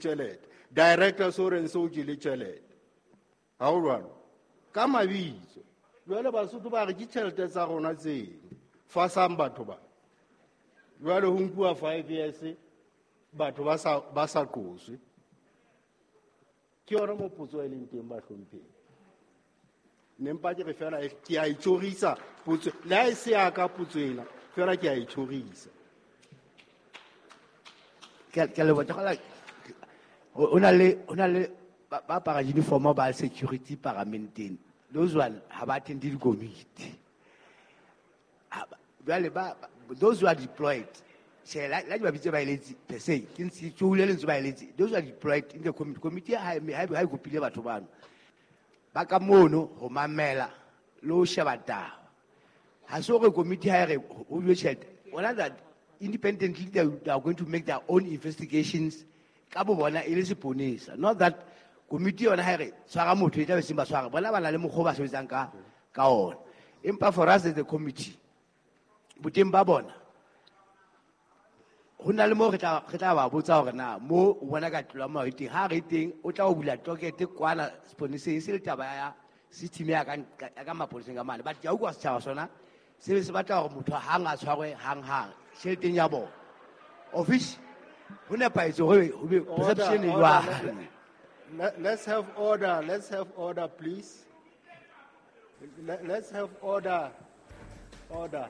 Tjhelete director so reng so o jele tjhelete, ha o jwalo ka mabitso. Jwale Basotho ba re ke tjhelete tsa rona tseno fasang batho ba. Jwale ho nkuwa 5 years, batho ba sa qoswe. Ke yona mo potso e leng teng, bahlomphehi. Ne mpa ke re fela ke a itjhorisa potso, le ha e se ya ka potso ena fela, ke a itjhorisa. Ke a leboha. Ke kgolwa ho na le ba apara uniform ba security paramenteng. Those one ha ba attend dikomiti. Jwale those who are deployed, tjhe, la di ba bitse baeletsi per se, ke ntse tsohule lentswe baeletsi. Those who are deployed in the committee, committee ha e kopile batho bano ba ka mono ho mamela le ho sheba taba. Ha se hore committee ha e re ho bue tjhelete bona, that independently they are going to make their own investigations ka bo bona e le seponesa. Not that committee yona ha e re tshwara motho, e tla be seng ba tshwara bona, ba na le mokgwa o ba sebetsang ka ona. Empa for us as the committee, boteng ba bona ho na le moo re tla ba botsa hore na mo o bona ka tlolo ya molao e teng. Ha re teng, o tla o bula docket kwana seponeseng, e se le taba ya system ya ka maponeseng ka mane. But ke a utlwa setjhaba sona se be se batla hore motho hang a tshwarwe hang hang tjheleteng ya bona, of which ho nepahetse hore ho be perception e jwang. Let's have order. Let's have order, please. Let's have order. Order.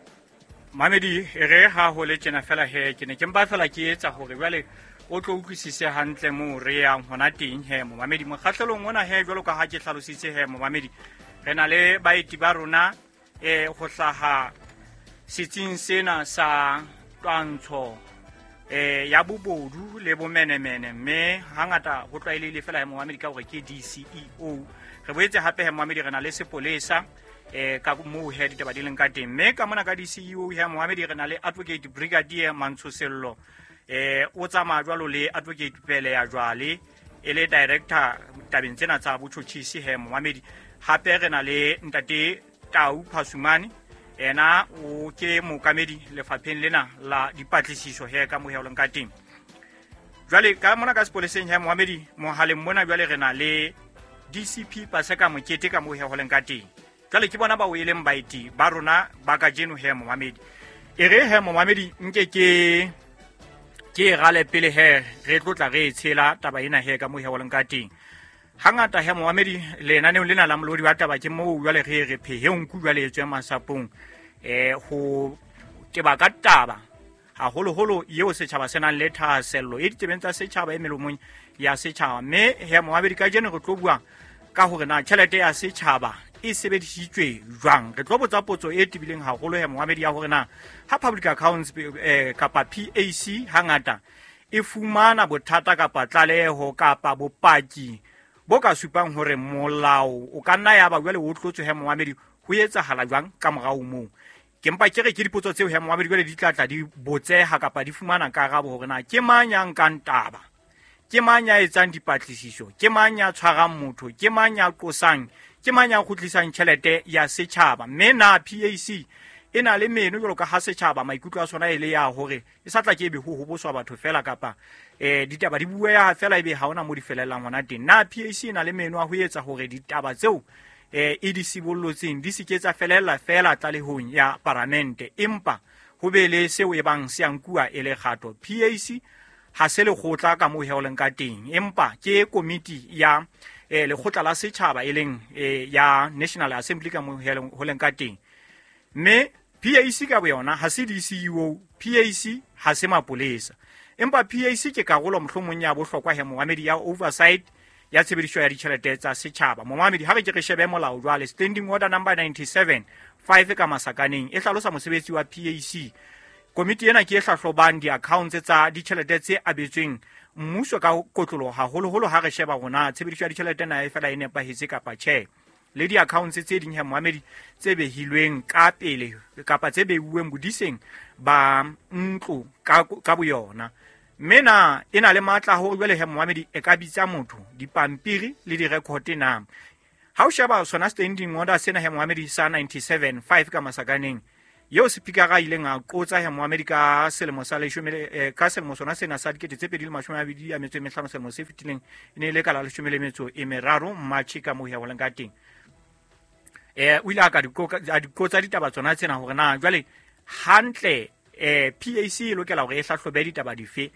Mamedi, e re ha ho le tjena fela he, ke ne ke mpa fela ke etsa hore jwale o tlo utlwisise hantle moo re yang hona teng he, momamedi. Mokgahlelong ona he, jwalo ka ha ke hlalositse he, momamedi, re na le baeti ba rona ho hlaha setsing sena sa twantsho ya bobodu le bomenemene, mme hangata ho tlwaelehile fela he, momamedi, ka hore ke DCEO. Re boetse hape he, momamedi, re na le sepolesa ka moo he ditaba di leng ka teng. Mme ka mona ka DCEO he, momamedi, re na le Advocate Brigadier Mantshosello, o tsamaya jwalo le Advocate Pele ya jwale e le director tabeng tsena tsa botjhotjhisi he, momamedi. Hape re na le ntate Tau Phasumane, ena o ke mookamedi lefapheng lena la dipatlisiso he ka mohe o leng ka teng. Jwale ka mona ka sepoleseng he, momamedi, mohaleng mona jwale re na le DCP Paseka Mokete ka mohe ho leng ka teng. Jwale ke bona bao e leng baeti ba rona ba kajeno he, momamedi. E re he, momamedi, nke ke e rale pele he, re tlo tla re e tshela taba ena he ka mohe ho leng ka teng. Hangata he, momamedi, lenaneong lena la Molodi wa Taba ke moo jwale re re phehe nku jwale e tswe masapong ho teba ka taba haholoholo eo setjhaba se nang le thahasello e ditsebeng tsa setjhaba, e melomong ya setjhaba. Mme he, momamedi, kajeno re tlo bua ka hore na tjhelete ya setjhaba e sebedisitswe jwang. Re tlo botsa potso e tebileng haholo he, momamedi, ya hore na ha Public Accounts kapa PAC hangata e fumana bothata kapa tlaleho kapa bopaki bo ka supang hore molao o ka nna ya ba jwale o tlotswe he, momamedi, ho etsahala jwang ka morao moo? Ke mpa ke re ke dipotso tseo he, momamedi, jwale di tla tla di botseha kapa di fumana karabo hore na ke mang ya nkang taba, ke mang ya etsang dipatlisiso, ke mang ya tshwarang motho, ke mang ya qosang, ke mang ya kgutlisang tjhelete ya setjhaba. Mme na PAC e na le meno jwalo ka ha setjhaba maikutlo a sona e le ya hore e sa tla ke ebe ho hoboswa batho fela kapa ditaba di bueha fela ebe ha hona mo di felellang hona teng? Na PAC e na le meno a ho etsa hore ditaba tseo e di sibollotseng di se ke tsa felella fela tlalehong ya paramente, empa ho be le seo e bang se a nkuwa e le kgato? PAC ha se lekgotla ka moo he o leng ka teng, empa ke komiti ya lekgotla la setjhaba, e leng ya National Assembly ka moo he ho leng ka teng. Mme PAC ka boyona ha se DCEO, PAC ha se mapolesa, empa PAC ke karolo mohlomong ya bohlokwa he, momamedi, ya oversight ya tshebediso ya ditjhelete tsa setjhaba. Momamedi, ha re ke re shebe molao jwale. Standing Order number 97 5 ka masakaneng e hlalosa mosebetsi wa PAC. Komiti ena ke e hlahlobang di-accounts tsa ditjhelete tse abetsweng mmuso ka kotloloho, haholoholo ha re sheba rona tshebediso ya ditjhelete na e fela e nepahetse kapa tjhe, le di-accounts tse ding he, moamedi, tse behilweng ka pele kapa tse beuweng bodiseng ba ntlo ka boyona. Mme na e na le matla a hore jwale he, moamedi, e ka bitsa motho, dipampiri le di-record na? Ha o sheba sona standing order sena he, moamedi, sa 97 5 ka masakaneng, Eo sepikara a ileng a qotsa he momamedi ka selemo sa leshome ka selemo sona sena sa 2025, selemo se fetileng, e ne e le ka la 13 March ka moo he ho leng ka teng. O ile a ka diqotsa ditaba tsona tsena hore na jwale hantle PAC e lokela hore e hlahlobe ditaba dife,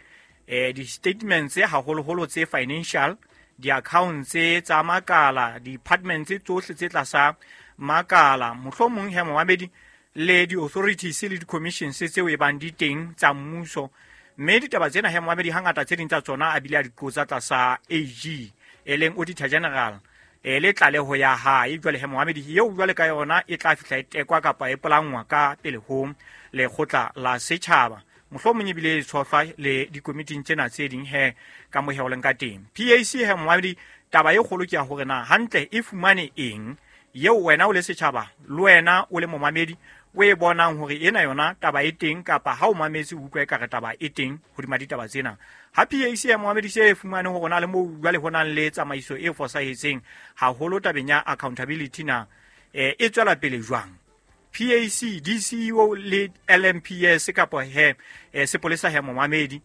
di-statements haholoholo tse financial, di-accounts tsa makala, departments tsohle tse tlasa makala, mohlomong he momamedi le di-authorities le di-commissions tseo e bang di teng tsa mmuso. Mme ditaba tsena he momamedi hangata tse ding tsa tsona a bile a di qotsa tlasa AG, e leng Auditor General, le tlaleho ya hae. Jwale he momamedi eo jwale ka yona e tla fihla e tekwa kapa e polangwa ka pele ho lekgotla la setjhaba, mohlomong ebile e tshohlwa le dikomiting tsena tse ding he ka mo he ho leng ka teng. PAC he momamedi taba e kgolo ke ya hore na hantle e fumane eng eo wena o le setjhaba le wena o le momamedi o e bonang hore ena yona taba e teng, kapa ha o mametse o utlwa ekare taba e teng hodima ditaba tsena. Ha PAC ya momamedi se e fumane hore na le moo jwale ho nang le tsamaiso e fosahetseng haholo tabeng ya accountability na e tswela pele jwang? PAC, DCEO le LMPS kapa he sepolesa he momamedi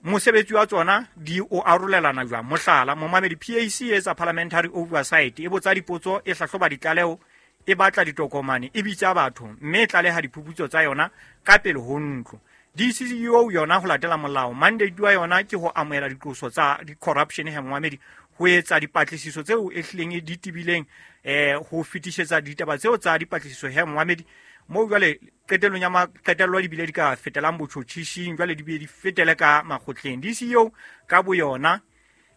mosebetsi wa tsona di o arolelana jwang? Mohlala momamedi, PAC e etsa parliamentary oversight, e botsa dipotso, e hlahloba ditlaleho, e batla ditokomane, e bitsa batho, mme e tlaleha diphuputso tsa yona ka pele ho ntlo. DCEO yona ho latela molao, mandate wa yona ke ho amohela diqoso tsa di-corruption he momamedi, ho etsa dipatlisiso tseo e hlileng di tebileng, ho fetisetsa ditaba tseo tsa dipatlisiso he momamedi, moo jwale qetellong ya qetello di bile di ka fetelang botjhotjhising, jwale di bile di fetele ka makgotleng. DCEO ka boyona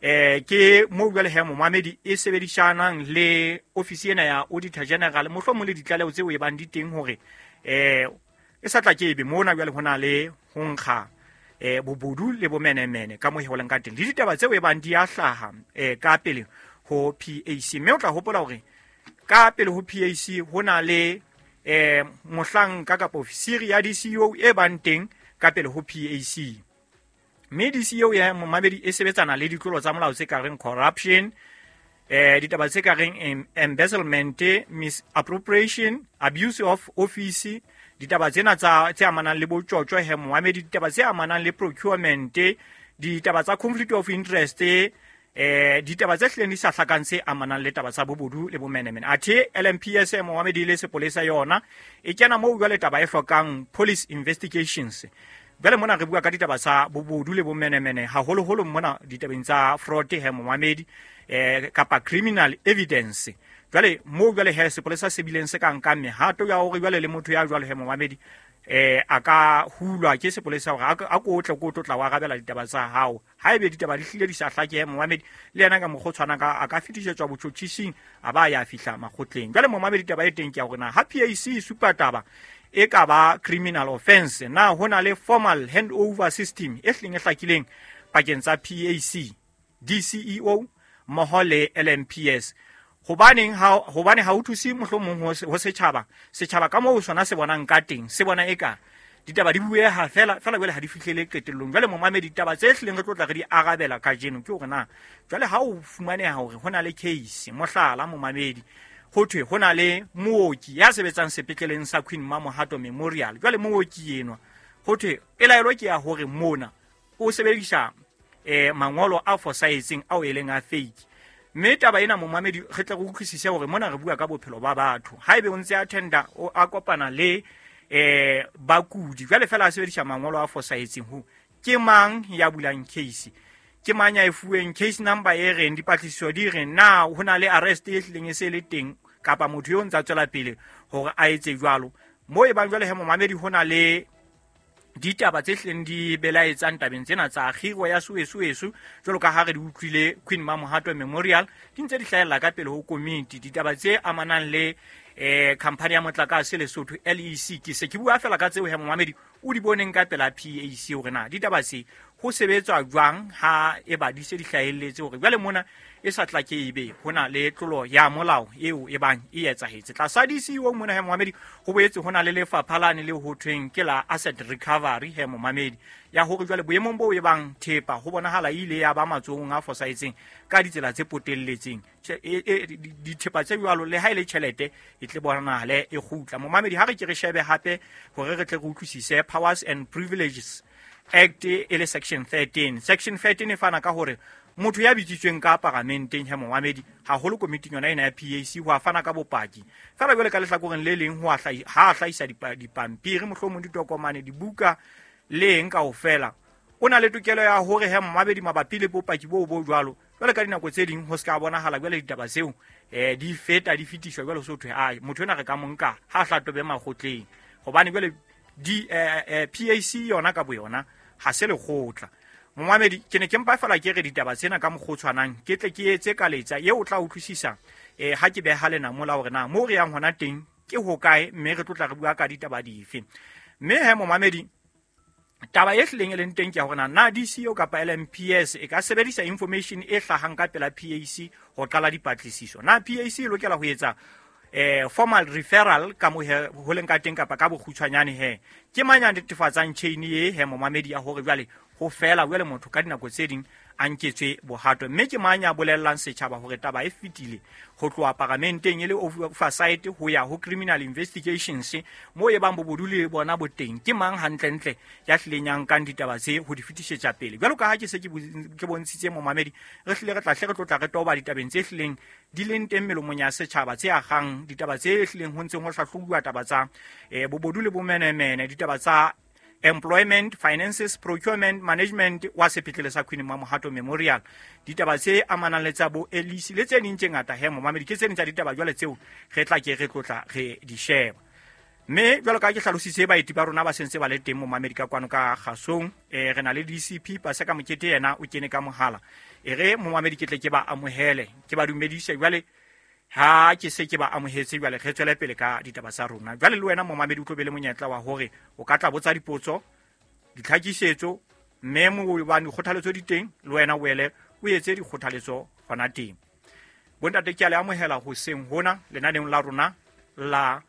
ke moo jwale he momamedi e sebedisanang le ofisi ena ya Auditor General, mohlomong le ditlaleho tseo e bang di teng hore e sa tla ke ebe mona jwale ho na le ho nkga bobodu le bomenemene ka moo he ho leng ka teng, le ditaba tseo e bang di a hlaha ka pele ho PAC. Mme o tla hopola hore ka pele ho PAC ho na le mohlanka kapa ofisiri ya DCEO e bang teng ka pele ho PAC. Mme DCEO ya momamedi e sebetsana le ditlolo tsa molao tse ka reng corruption, ditaba tse ka reng embezzlement, misappropriation, abuse of office, ditaba tsena tsa tse amanang le botjotjo he momamedi, ditaba tse amanang le procurement, ditaba tsa conflict of interest, ditaba tse hlileng di sa hlakang tse amanang le taba tsa bobodu le bomenemene. Athe LMPS momamedi le sepolesa yona e kena moo jwale taba e hlokang police investigations. Jwale mona re bua ka ditaba tsa bobodu le bomenemene haholoholo mona ditabeng tsa fraud he momamedi, kapa criminal evidence. Jwale moo jwale he sepolesa se bileng se ka nkang mehato ya hore jwale le motho ya jwalo he momamedi a ka hulwa ke sepolesa hore a ko tle ko tlotla wa arabela ditaba tsa hao. Haebe ditaba di hlile di sa hlake he momamedi, le yena ka mokgwa o tshwanang ka a ka fetisetswa botjhotjhising a ba ya fihla makgotleng. Jwale momamedi taba e teng ke ya hore na ha PAC e supa taba e ka ba criminal offense, na ho na le formal handover system e hlileng e hlakileng pakeng tsa PAC, DCEO mmoho le LMPS? Hobaneng ha hobane ha o thuse mohlomong ho setjhaba, setjhaba ka moo sona se bonang ka teng, se bona eka ditaba di bueha fela fela jwale ha di fihlele qetellong. Jwale momamedi ditaba tse hlileng re tlo tla re di arabela kajeno ke hore na jwale ha o fumaneha hore ho na le case, mohlala momamedi ho thwe ho na le mooki ya sebetsang sepetleleng sa Queen Mamohato Memorial. Jwale mooki enwa ho thwe pelaelo ke ya hore mona o sebedisa mangolo a fosahetseng ao e leng a fake. Mme taba ena momamedi re tle re utlwisise hore mona re bua ka bophelo ba batho. Haebe o ntse a tender o a kopana le bakudi jwale fela a sebedisa mangolo a fosahetseng, ho ke mang ya bulang case, ke mang ya e fuweng case number e reng, dipatlisiso di reng, na ho na le arrest e hlileng e se le teng kapa motho eo ntsa tswela pele hore a etse jwalo. Moo e bang jwale he momamedi ho na le ditaba tse hlileng di belaetsang tabeng tsena tsa kgiro ya Soweso jwalo ka ha re di utlwile Queen Mamohato Memorial di ntse di hlahella ka pele ho komiti. Ditaba tse amanang le khampani ya motlakase Lesotho LEC, ke se ke bua fela ka tseo he momamedi o di boneng ka pela PAC hore na ditaba tse ho sebetswa jwang ha e ba di se di hlahelletse hore jwale mona e sa tla ke ebe ho na le tlolo ya molao eo e bang e etsahetse. Tlasa DCEO mona he momamedi, ho boetse ho na le lefapha lane le ho thweng ke la asset recovery he momamedi, ya hore jwale boemong bo e bang thepa ho bonahala e ile ya ba matsohong a fosahetseng ka ditsela tse potelletseng. Dithepa tse jwalo le ha e le tjhelete e tle bonahale e kgutla. Momamedi, ha re ke re shebe hape hore re tle re utlwisise Powers and Privileges Act e le section 13. Section 13 e fana ka hore motho ya bitsitsweng ka paramenteng he momamedi, haholo komiting yona ena ya PAC, ho a fana ka bopaki. Feela jwale ka lehlakoreng le leng ho ha a hlahisa dipampiri, mohlomong ditokomane, dibuka le eng kaofela, o na le tokelo ya hore he momamedi mabapi le bopaki boo bo jwalo. Jwale ka dinako tse ding ho se ka bonahala jwale ditaba tseo di feta di fetiswa jwale ho so thwe ai motho ena re ka mo nka ha a hlatobe makgotleng, hobane jwale PAC yona ka boyona ha se lekgotla. Momamedi, ke ne ke mpa fela ke re ditaba tsena ka mokgwa o tshwanang, ke tle ke etse ka letsa eo o tla utlwisisa ha ke beha lenamo la hore na moo re yang hona teng ke hokae, mme re tlo tla re bua ka ditaba dife. Mme he momamedi, taba e hlileng e leng teng ke ya hore na DCEO kapa LMPS e ka sebedisa information e hlahang ka pela PAC ho qala dipatlisiso. Na PAC e lokela ho etsa formal referral ka mo ho leng ka teng kapa ka bokgutshwanyane he? Ke mang ya netefatsang chain e he momamedi ya hore jwale ho fela jwale motho ka dinako tse ding a nketswe bohato? Mme ke mang ya bolellang setjhaba hore taba e fetile ho tloha paramenteng e le oversight ho ya ho criminal investigations moo e bang bobodu le bona bo teng? Ke mang hantlentle ya hlileng ya nkang ditaba tse ho di fetisetsa pele? Jwalo ka ha ke se ke bontshitse momamedi, re hlile re tla hle re tlotla re toba ditabeng tse hlileng di leng teng melomong ya setjhaba tse agang, ditaba tse hlileng ho ntseng ho hlahlobuwa, taba tsa bobodu le bomenemene, ditaba tsa employment, finances, procurement, management wa sepetlele sa Queen Mamohato Memorial, ditaba tse amanang le tsa bo Elisi le tse ding tse ngata he momamedi. Ke tse ding tsa ditaba jwale tseo re tla ke re tlotla re di sheba. Mme jwalo ka ke hlalositse baeti ba rona ba sentse ba le teng momamedi ka kwano ka kgasong, re na le DCP Paseka Mokete, yena o kene ka mohala. E re momamedi ke tle ke ba amohele, ke ba dumedise jwale. Ha ke se ke ba amohetse jwale re tswele pele ka ditaba tsa rona. Jwale le wena momamedi o tlo be le monyetla wa hore o ka tla botsa dipotso, ditlhakisetso, mme mo hobane dikgothaletso di teng, le wena o ele o etse dikgothaletso hona teng. Bontate, ke a le amohela hoseng hona lenaneong la rona la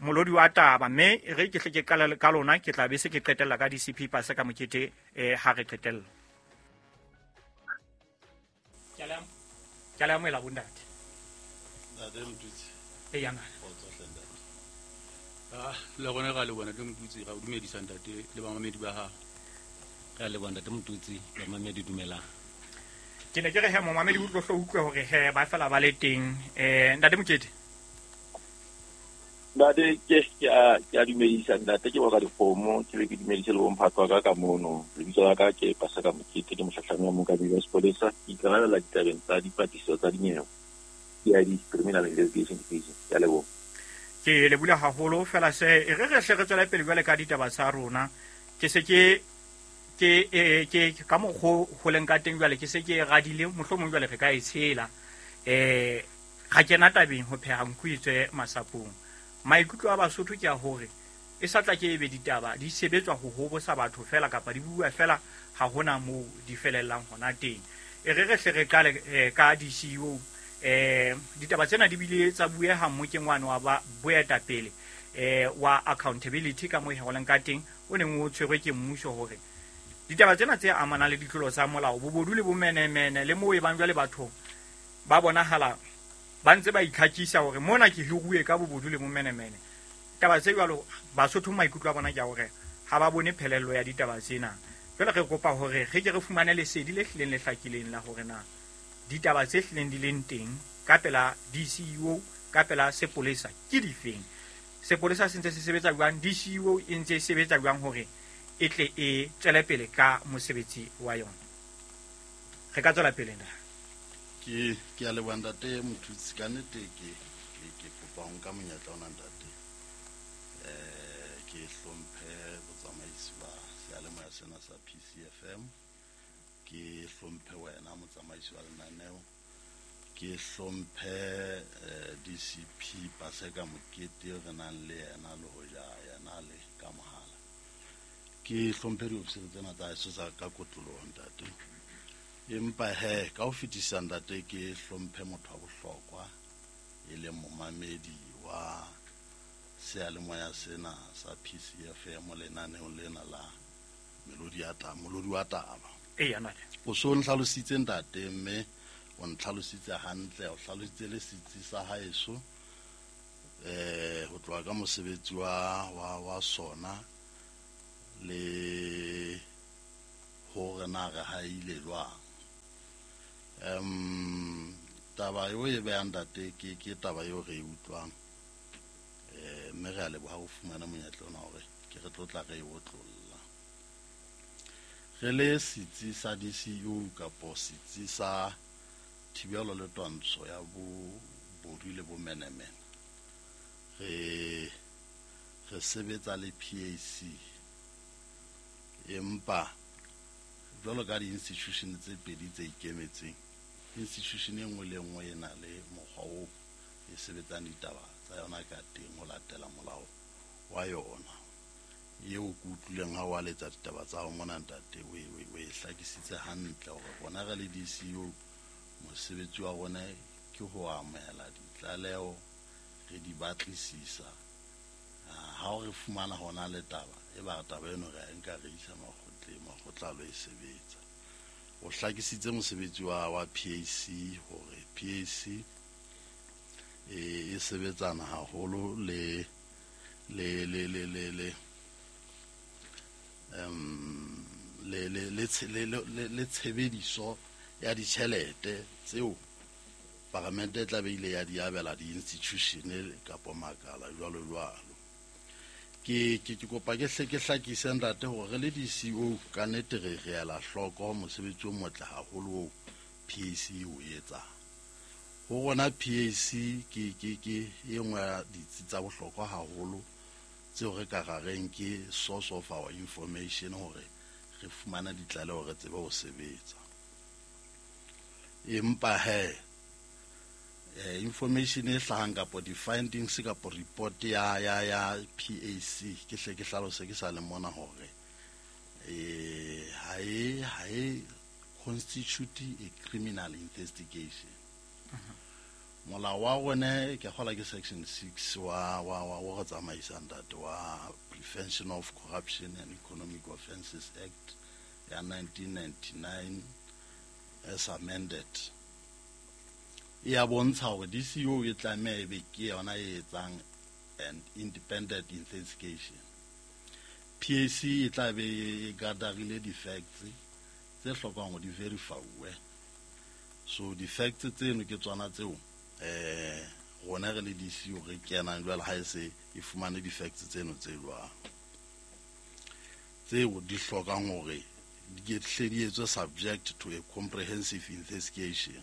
molodi wa taba, mme re ke hle ke qala ka lona, ke tla be se ke qetella ka DCP Paseka Mokete ha re qetella. Ke a le amohela bontate. Ntate Motutsi. E ya ngaka. Kgotso hle ntate. Le rona ra leboha ntate Motutsi, ra o dumedisa ntate le bamamedi ba hao. Re a leboha ntate Motutsi, bamamedi dumelang. Ke ne ke re he momamedi o tlo hlo utlwe hore he ba fela ba le teng. Ntate Mokete. Ntate, ke a dumedisa ntate, ke boka dikgomo, ke be ke dumedise le bomphato wa ka ka mono. Lebitso la ka ke Paseka Mokete, ke mohlahlami wa mookamedi wa sepolesa, ke ikarabella ditabeng tsa dipatlisiso tsa dinyewe. CID, Criminal Investigation Division. Ke a leboha. Ke lebohile haholo fela se e re re hle re tswele pele jwale ka ditaba tsa rona. Ke se ke ke ka mokgo ho leng ka teng jwale ke se ke radile, mohlomong jwale re ka e tshela. Ga kena tabeng ho pheha nku e tswe masapong. Maikutlo a Basotho ke a hore e sa tla ke ebe ditaba di sebetswa ho hobosa batho fela kapa di bua fela, ha hona moo di felellang hona teng. E re re hle re qale ka DCEO. Ditaba tsena di bile tsa bueha mmokeng wane wa ba boetapele wa accountability ka moo ho leng ka teng, o neng o tshwerwe ke mmuso hore ditaba tsena tse amanang le ditlolo tsa molao, bobodu le bomenemene, le moo e bang jwale batho ba bonahala ba ntse ba itlhakisa hore mona ke hiruwe ka bobodu le bomenemene. Taba tse jwalo Basotho maikutlo a bona ke a hore ha ba bone phelello ya ditaba tsena. Jwale re kopa hore re ke re fumane lesedi le hlileng le hlakileng la hore na ditaba tse hlileng di leng teng ka pela DCEO, ka pela sepolesa ke difeng. Sepolesa se ntse se sebetsa jwang, DCEO e ntse e sebetsa jwang hore e tle e tswele pele ka mosebetsi wa yona. Re ka tswela pele na? Ke a leboha ntate Motutsi, ka nnete ke kopa ho nka monyetla ona ntate. Ke hlomphe botsamaisi ba seyalemoya sena sa PCFM, ke hlomphe wena motsamaisi wa lenaneo, ke hlomphe DCP Paseka Mokete re nang le yena le hoja yena le ka mohala. Ke Ke hlomphe diofisiri tsena tsa heso tsa ka kotloloho ntate. Empa he ka ho fetisa ntate ke hlomphe motho wa bohlokwa e leng momamedi wa seyalemoya sena sa PCFM lenaneong lena la Melodi ya taba, Molodi wa taba. Eya ntate. O so ntlhalositse ntate mme o ntlhalositse hantle, o hlalositse le setsi sa haeso ho tloha ka mosebetsi wa sona le hore na re haile jwang. Taba eo e behang ntate ke taba eo re e utlwang. Mme re a leboha ho fumana monyetla ona hore ke re tlo tla re e otlolla. Re le setsi sa DCU kapo setsi sa thibelo le twantsho ya bobodu le bomenemene, re sebetsa le PAC, empa jwalo ka di-institution tse pedi tse ikemetseng, institution e nngwe le nngwe e na le mokgwa oo e sebetsang ditaba tsa yona ka teng ho latela molao wa yona. Eo ke utlwileng ha o aletsa ditaba tsa hao mona ntate, o e hlakisitse hantle hore rona re le DCU mosebetsi wa rona ke ho amohela ditlaleho, re di batlisisa. Ha o re fumana hona le taba, e ba taba eno re a nka re isa makgotleng, makgotla a lo e sebetsa. O hlakisitse mosebetsi wa PAC hore PAC e sebetsana haholo le le le le le le le le le le tshebediso ya ditjhelete tseo paramente e tla be ile ya di abela di-institution kapo makala jwalo jwalo. Ke kopa ke hle ke hlakise ntate hore re le DCO ka nnete re ela hloko mosebetsi o motle haholo oo PAC o etsang. Ho rona PAC ke e nngwe ya ditsi tsa bohlokwa haholo tseo re ka rareng ke source of our information hore re fumane ditlaleho re tsebe ho sebetsa. Empa he information e hlahang kapo di-findings kapo report ya PAC ke hle ke hlalose ke sa le mona hore ha e constitute a criminal investigation. Molao wa rona ke kgola ke section 6 wa re tsamaisang ntate wa Prevention of Corruption and Economic Offences Act ya 1999 as amended. E a bontsha hore DCO e tlameha e be ke yona e etsang an independent investigation. PAC e tla be e gatherile di-facts tse hlokang hore di verify-uwe. So di-facts tseno ke tsona tseo rona re le DCO re kenang jwale ha e se e fumane di-facts tseno tse jwang, tseo di hlokang hore di hle di etswe subject to a comprehensive investigation.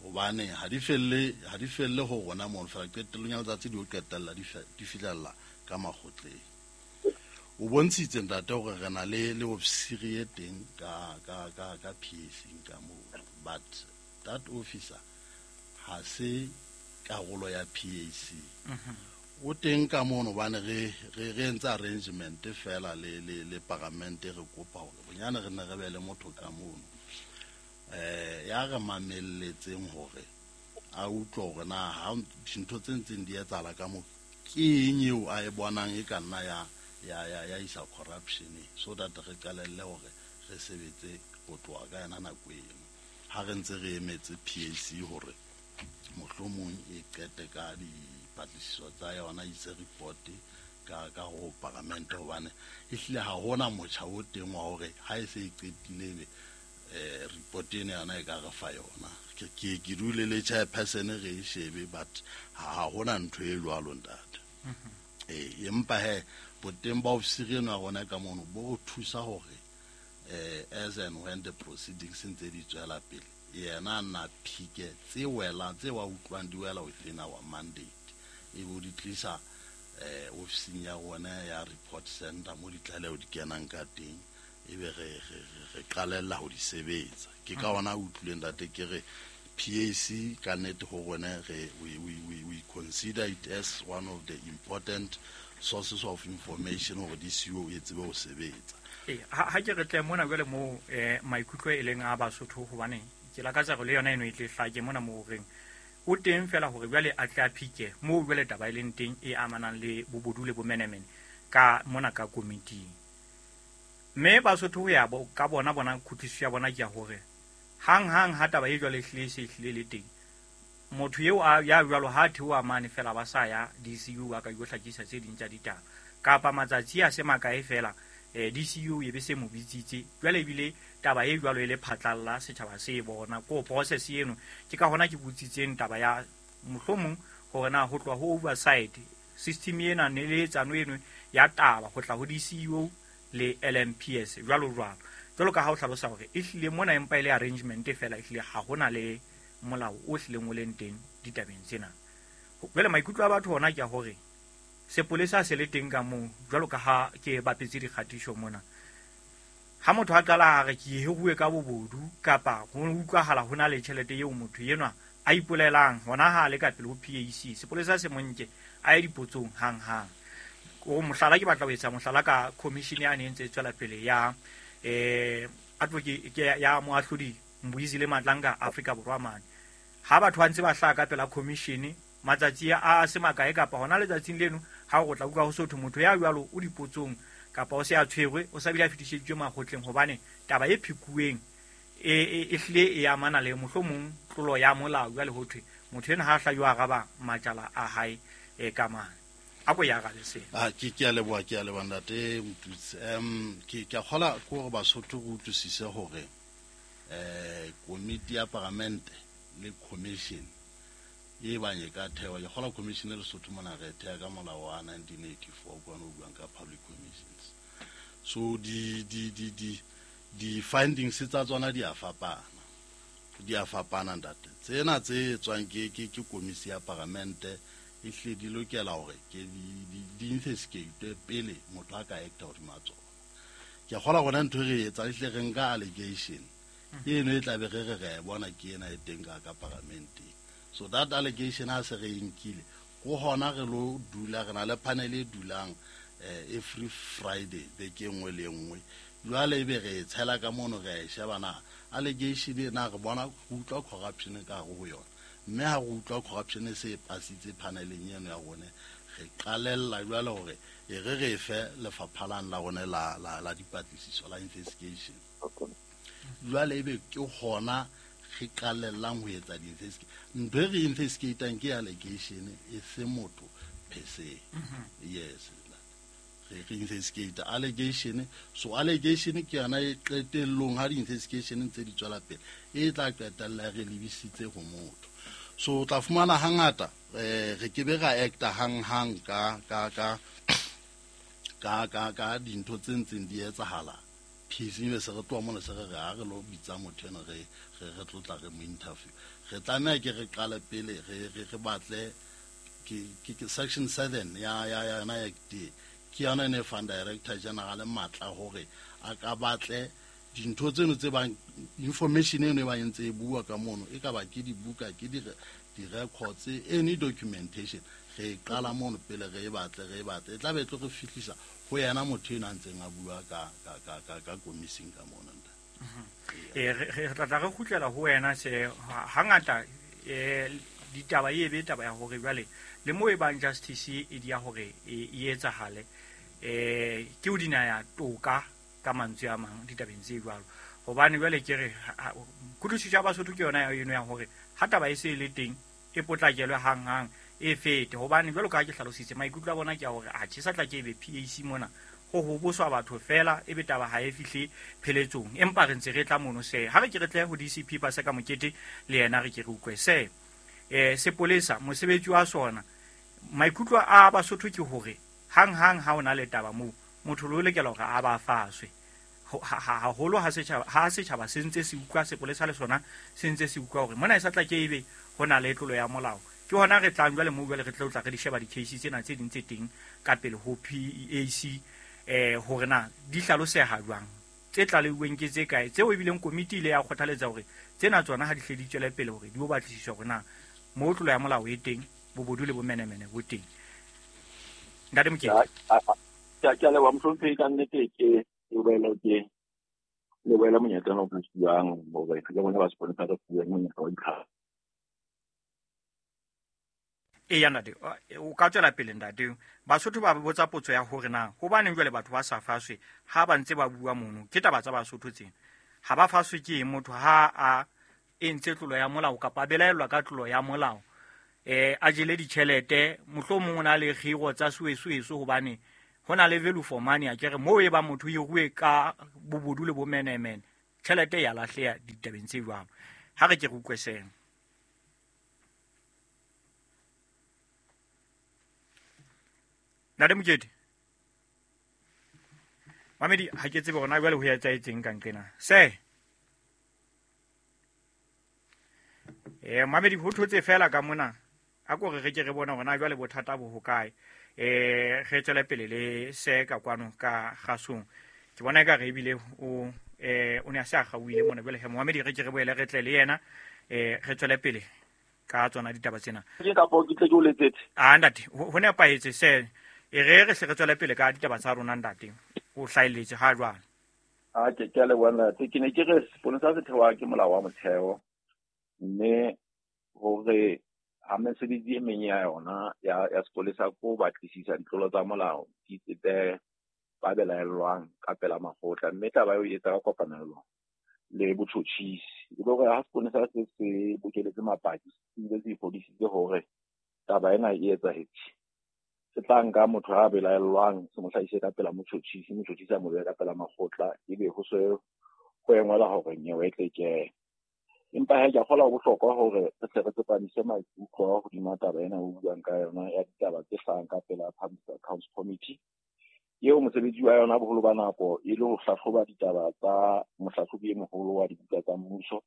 Hobane ha di felle ho rona mono fela, qetellong ya letsatsi di o qetella di fihlella ka makgotleng. O bontshitse ntate hore re na le ofisiri e teng ka PAC ka moo, but that officer ha se karolo ya PAC. O teng ka mono hobane re entse arrangement fela le paramente, re kopa hore bonyane re ne re be le motho ka mono ya re mamelletseng hore a utlwe hore na ha dintho tse ntseng di etsahala ka moo ke eng eo a e bonang e ka nna ya isa corruption, so that re qalelle hore re sebetse ho tloha ka yona nako eno ha re ntse re emetse PAC hore mohlomong e qete ka dipatlisiso tsa yona, ise report ka ho paramente, hobane ehlile ha hona motjha o teng wa hore ha e se e qetile ebe report ena yona e ka re fa yona. Ke dule le chairperson re e shebe, but ha hona ntho e jwalo ntate. Empa he boteng ba ofisiri eno ya rona ka mono bo thusa hore as and when the proceedings ntse di tswela pele, yena na phike tse welang tse wa utlwang di wela within our mandate, e bo di tlisa ofising ya rona ya report center mo ditlaleho di kenang ka teng, ebe re qalella ho di sebetsa. Ke ka ona utlwileng ntate ke re PAC ka nnete ho rona we consider it as one of the important sources of information hore DCU e tsebe ho sebetsa. Ha ke re tle mona jwale moo maikutlo e leng a Basotho, hobane ke lakatsa hore le yona eno e tle hlake mona moo reng o teng fela hore jwale a tle a phike moo jwale taba e leng teng e amanang le bobodu le bomenemene ka mona ka komiting. Mme Basotho ho ya ka bona kutlwisiso ya bona ke ya hore hang hang ha taba e jwale e hlile se hlile le teng, motho eo ya jwalo ha theoha mane fela ba sa ya DCU a ka yo hlakisa tse ding tsa ditaba, kapa matsatsi a se makae fela DCU e be se mo bitsitse jwale ebile taba e jwalo e le phatlalla setjhaba se e bona ko process eno. Ke ka hona ke botsitseng taba ya mohlomong hore na ho tloha ho oversight system ena ne le etsano eno ya taba ho tla ho DCU le LMPS jwalo jwalo. Jwalo ka ha o hlalosa hore e hlile mona empa e le arrangement fela, e hlile ha hona le molao o hlileng o leng teng ditabeng tsena. Jwale maikutlo a batho hona ke a hore sepolesa se le teng ka moo, jwalo ka ha ke bapetse dikgatiso mona. Ha motho a qala a re ke hiruwe ka bobodu kapa ho utlwahala ho na le tjhelete eo motho enwa a ipolelang hona ha le ka pele ho PAC, sepolesa se monke a ye dipotsong hang hang. O mohlala ke batla ho etsa mohlala ka commission ya ne ntse e tswela pele ya advocate ya moahlodi Mbuyisile Madlanga Afrika Borwa mane. Ha batho ba ntse ba hlaha ka pela commission matsatsi a se makae kapa hona letsatsing leno ha o tla utlwa ho sotho motho ya jwalo o dipotsong kapa o se a tshwerwe o sa bile a fetiseditswe makgotleng, hobane taba e phikuweng e hlile e amana le mohlomong tlolo ya molao. Jwale ho thwe motho ena ha hla yo araba majala a hae ka mane. A ko ya arabe sena. Ke a leboha, ke a leboha ntate Motutsi. Ke a kgola ke hore Basotho re utlwisise hore komiti ya paramente le commission e bang e ka thewa. Ke kgola commission e Lesotho mona re theha ka molao wa 1984 kwana o buang ka public commissions. So di findings tsa tsona di a fapana. Di a fapana ntate. Tsena tse tswang ke komisi ya paramente e hle di lokela hore ke di investigate pele motho a ka acta hodima tsona. Ke kgola gona ntho e re etsa ehle re nka allegation eno e tla be re re bona ke ena e teng ka paramenteng. So that allegation ha se re nkile go hona re lo dula re na le panel e dulang every Friday beke nngwe le nngwe. Jwale ebe re tshela ka mono re e sheba na allegation ena re bona go utlwa corruption ka hare ho yona, mme ha re utlwa corruption e se e pasitse paneleng eno ya rone, re qalella jwale hore e re fe lefapha la rone la dipatlisiso la investigation. Jwale ebe ke hona re qalellang ho etsa di-investigation. Ntho e re investigatang ke allegation e se motho per se. Yes, re investigate allegation. So allegation ke yona e qetellong ha di-investigation tse di tswela pele e tla qetella re lebisitse ho motho. So o tla fumana hangata re ke be ra acta hang hang ka dintho tse ntseng di etsahala. PAC be se re tloha mona se re re ha re lo bitsa motho ena re tlotla re mo interview. Re tlameha ke re qale pele re batle ke section 7 ya yona act ke yona e fang director general matla hore a ka batle dintho tseno tse bang information eno e ba ntse e bua ka mono, e ka ba ke dibuka ke di-records any documentation. Re qala mono pele re e batle e tla be e tlo re fihlisa ho yena motho eno a ntseng a bua ka komising ka mona. Re tla re kgutlela ho wena se hangata ditaba e be taba ya hore jwale le mo e bang justice e di ya hore e etsahale ke o dinaya toka ka mantswe a mang ditabeng tse jwalo, hobane jwale ke re kutlwisiso ya Basotho ke yona eno ya hore ha taba e se e le teng e potlakelwe hang hang e fete, hobane jwalo ka ha ke hlalositse maikutlo a bona ke a hore a tjhe sa tla ke ebe PAC mona ho hoboswa batho fela ebe taba ha e fihle pheletsong, empa re ntse re tla mono se ha re ke re tle ho DCP Paseka Mokete le yena re ke re utlwe se sepolesa mosebetsi wa sona. Maikutlo a Basotho ke hore hang hang ha ona le taba moo motho lo lokela hore a ba faswe haholo ha setjhaba se ntse se utlwa sepolesa le sona se ntse se utlwa hore mona e sa tla ke ebe ho na le tlolo ya molao. Ke hona re tlang jwale moo jwale re tla re di sheba di-case tsena tse ding tse teng ka pele ho PAC hore na di hlaloseha jwang, tse tlaleuweng ke tse kae, tseo ebileng komiti ile ya kgothaletsa hore tsena tsona ha di hle di tswele pele hore di o batlisiswa hore na moo tlolo ya molao e teng, bobodu le bomenemene bo teng. Ntate Mokete. Ke a leboha mohlomphehi, ka nnete ke boele ke lebohele monyetla ona o re fuwang hore le rona ba seponesa re fuwe monyetla wa ditlhahiso. Eya ntate, o ka tswela pele ntate. Basotho ba botsa potso ya hore na hobaneng jwale batho ba sa faswe ha ba ntse ba bua mono. Ke taba tsa Basotho tsena. Ha ba faswe ke eng motho ha a entse tlolo ya molao kapa a belaellwa ka tlolo ya molao, a jele ditjhelete, mohlomong o na le kgiro tsa suesueso hobane ho na le value for money, akere moo e ba motho e rue ka bobodu le bomenemene, tjhelete ya lahleha ditabeng tse jwalo. Ha re ke re utlwe sena. Ntate Mokete. Mamedi, ha ke tsebe hore na jwale ho etsahetseng ka nqena. Se. Mamedi, ho thotse fela ka mona. A ko re ke re bone hore na jwale bothata bo hokae. Re tswele pele le se ka kwano ka kgasong. Ke bona eka re ebile o ne a se a kgaohile mona. Jwale he Mamedi, re ke re boele re tle le yena, re tswele pele ka tsona ditaba tsena. Ke kapo ke tle ke o letsetse. Ah ntate, ho nepahetse se. E re re hle re tswele pele ka ditaba tsa rona ntate. O hlahelletse ha jwale. A ke a leboha ntate. Ke ne ke re seponesa se thewa ke molao wa motheo, mme hore ha mesebetsi e meng ya yona ya sepolesa ko batlisisa ditlolo tsa molao di tsebe ba belaellwang ka pela makgotla, mme taba eo e etsa ka kopanelo le botjhotjhisi. E le hore ha seponesa se se bokeletse mapaki, ebile se iphodisitse hore taba ena e etsahetse, se tla nka motho a belaellwang se mo hlahise ka pela motjhotjhisi, motjhotjhisi a mo behe ka pela makgotla, ebe ho se ho engwela hore nyewe e tle kene. Empa he ke a kgolwa ho bohlokwa hore re tle re tsepamise maikutlo hodima taba ena o buang ka yona ya ditaba tse hlahang ka pela Public Accounts Committee, eo mosebetsi wa yona boholo ba nako e le ho hlahloba ditaba tsa mohlahlobi e moholo wa dibuka tsa mmuso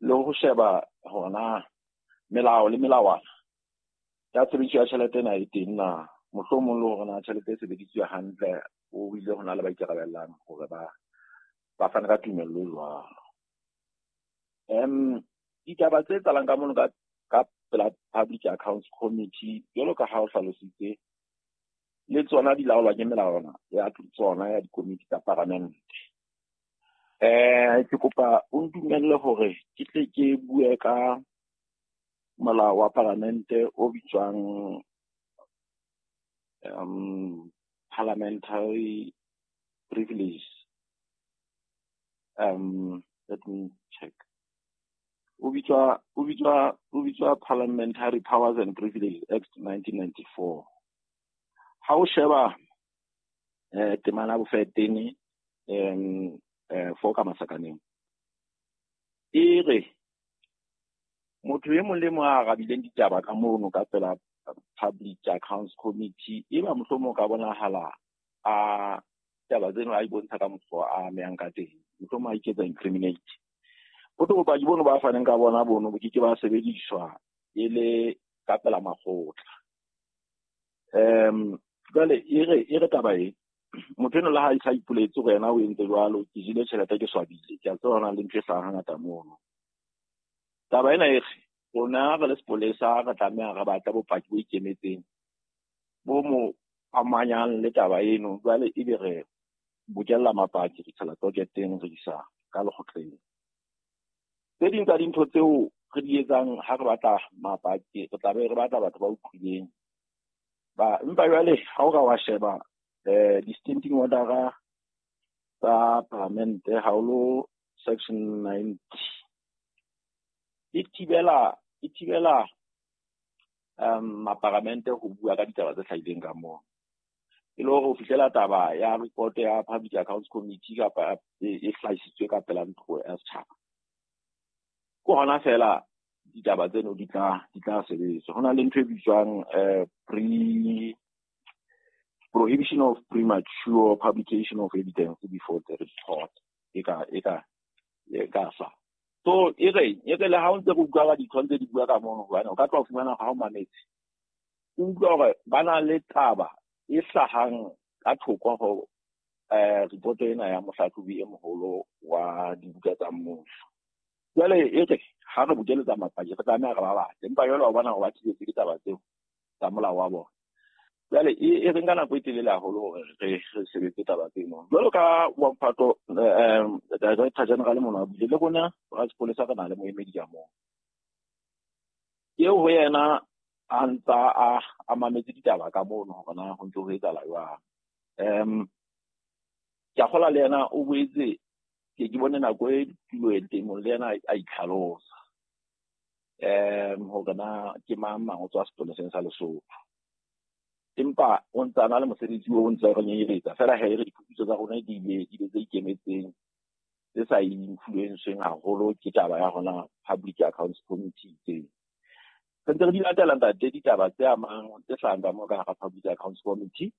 le ho sheba hona melao le melawana ya tshebediso ya tjhelete ena e teng na, mohlomong le hore na tjhelete e sebedisitswe hantle, o bile ho na le ba ikarabellang hore ba fane ka tumello jwalo. Ditaba tse etsahalang ka mono ka pela Public Accounts Committee, jwalo ka ha o hlalositse, le tsona di laolwa ke melawana ya tsona ya dikomiti tsa paramente. Ke kopa o ntumelle hore ke tle ke bue ka molao wa paramente o bitswang Parliamentary Privilege. Let me check. O bitswa Parliamentary Powers and Privileges Act 1994. Ha o sheba temana bofetene 4 ka masakaneng, e re motho e mong le mong a arabileng ditaba ka mono ka pela Public Accounts Committee, e ba mohlomong ka bonahala a taba tseno a ibontsha ka mokgwa a amehang ka teng, mohlomong a iketsa incriminate. Ho tlo bopaki bono ba faneng ka bona bono bo ke ke ba sebediswa e le ka pela makgotla. Jwale e re taba e motho eno le ha a ipoletse hore yena o entse jwalo, ke jele tjhelete ke swabile, ke a tseba hona le ntho e hlahang hangata mono. Taba ena e re rona re le sepolesa re tlameha re batla bopaki bo ikemetseng bo mo amanyang le taba eno, jwale ebe re bokella mapaki re tshela toketeng re isa ka lekgotleng. Tse ding tsa dintho tseo re di etsang ha re batla mapaki, re tla be re batla batho ba utlwileng. Ba empa jwale ha o ka wa sheba di-standing order tsa paramente haholo section 90 e thibela maparamente ho bua ka ditaba tse hlahileng ka moo. E le hore ho fihlela taba ya report ya Public Accounts Committee kapa e hlahisitswe ka pela ntlo ya setjhaba, ke hona fela ditaba tseno di tla sebetswa. Ho na le ntho e bitswang prohibition of premature publication of evidence before the report e ka sa. So e re le ha o ntse re utlwa ka ditho ntse di bua ka mono, hobane o ka tloha fumana ha o mametse, o utlwa hore ba na le taba e hlahang ka thoko ho report ena ya mohlahlobi e moholo wa dibuka tsa mmuso. Jwale e re ha re bokeletsa mapaki re tlameha re ba batle, empa jwale wa bona hore ba thibetse ke taba tseo tsa molao wa bona. Jwale e re nka nako e telele haholo hore re sebetse taba tseno. Jwalo ka wa mphato Director General mona a buile le rona ra sepolesa, re na le moemedi ka moo. Eo ho yena a ntsa a mametse ditaba ka mono hore na ho ntse ho etsahala jwang. Ke a kgolwa le yena o boetse ke bone nako e tulo e teng le yena a itlhalosa hore na ke mang mang o tswa sepoleseng sa Lesotho. Empa o ntsa na le mosebetsi o ntse re nyenyeletsa fela he re diphuputso tsa rona di ile tse ikemetseng tse sa influenceng haholo ke taba ya rona Public Accounts Committee tseo. Re ntse re di latela ntate ditaba tse amang tse hlahang ka moo ka hara Public Accounts Committee.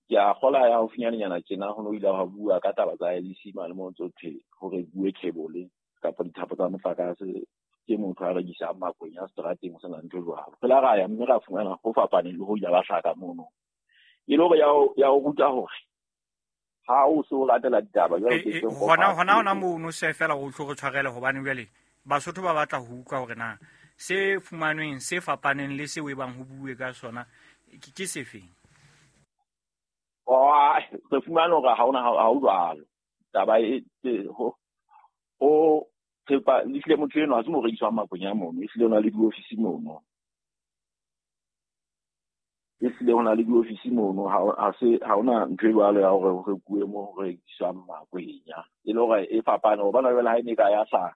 Ke a kgola ya haufinyanenyana tjena ho no ile ha bua ka taba tsa IEC mane mo ntso thwe hore bue cable kapa dithapo tsa motlakase ke motho a rekisang makwenya seterateng ho sena ntho jwalo. Re la ra ya mme ra fumana ho fapaneng le ho ile ba hlaka mono. E le hore ya o ruta hore ha o se o latela ditaba jwalo ke hona mono se fela o tlo re tshwarele hobane jwale Basotho ba batla ho utlwa hore na se fumanweng se fapaneng le seo e bang ho bue ka sona ke sefeng. Re fumane hore ha ona ha o jwalo. Taba e ho thepa le motho eno ha se mo rekiswang makwenya mono, ehlile o na le diofisi mono. Ehlile ho na le diofisi mono, ha hona ntho e jwalo ya hore ho rekuwe mo ho rekiswang makwenya. E le hore e fapane hobane jwale ha e ne ka ya hlaha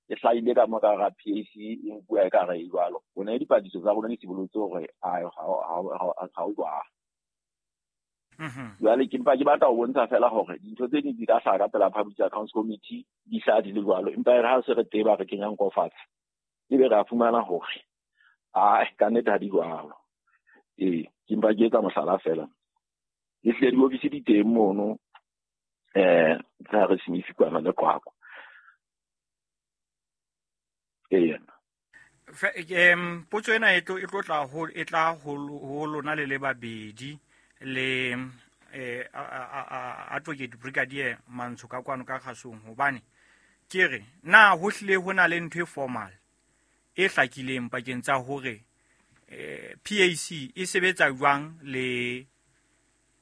e hlahile ka mo ka hara PAC e nkuwa e ka re e jwalo. Ho ne dipatlisiso tsa rona di sibolotse hore ha o jwalo. Jwale ke mpa ke batla ho bontsha fela hore dintho tse ding di ka hlaha ka pela Public Accounts Committee di hlaha di le jwalo, empa e re ha se re teba re kenyang nko fatshe ebe re a fumana hore ka nnete ha di jwalo. Ke mpa ke etsa mohlala fela. Ehlile diofisi di teng mono tsa re Smith kwana le Qwaqwa. Potso ena e tlo tla ho lona le le babedi le Advocate Brigadier Mantsho ka kwano ka kgasong, hobane ke re na ho hlile ho na le ntho e formal e hlakileng pakeng tsa hore PAC e sebetsa jwang le